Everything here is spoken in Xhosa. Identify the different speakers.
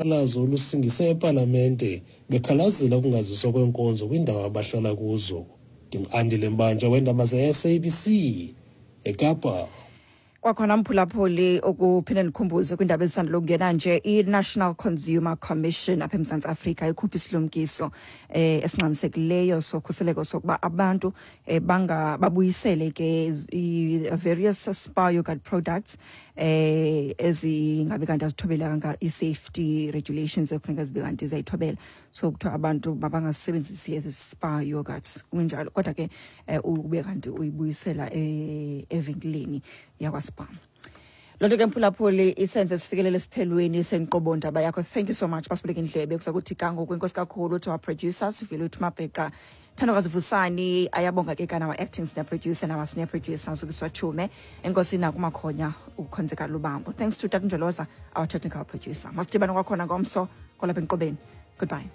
Speaker 1: Uqhankqalazo olusingise epalamente bekhalazela ukungaziswa kweenkonzo kwiindawo abahlala kuzo. Ndingu-Andile Mbanja weendaba ze-SABC eKapa.
Speaker 2: Kwakhona mphulaphuli, ukuphinde ndikhumbuze kwiindaba ezisandula ukungena nje, i-National Consumer Commission apha eMzantsi Afrika ikhupha isilumkiso esingxamisekileyo sokhuseleko sokuba abantu banga babuyisele ke i-various Spar yogurt products ezingabe kanti azithobelanga i-safety regulations ekufuneka zibe kanti ziyayithobela. So kuthiwa abantu mabangasebenzisi ezi Spar yogurts kunjalo, kodwa ke ube kanti uyibuyisela evenkileni yakwaSpar. Loo nto ke, mphulaphuli, isenze sifikelele esiphelweni senkqubo ndaba yakho. Thank you so much basibuleka indlebe kuza kuthi kangoku. Inkosi kakhulu to our producers, Sivile Mabheqa, Thandokazi Vusani, ayabonga ke kana our acting senior producer and our senior producer Zukiswa Chume, enkosi nakumakhonya ukhonzeka Lubambo. Thanks to Tata Njoloza, our technical producer. Masidibane kwakhona ngomso kwalapha enkqubeni. Goodbye.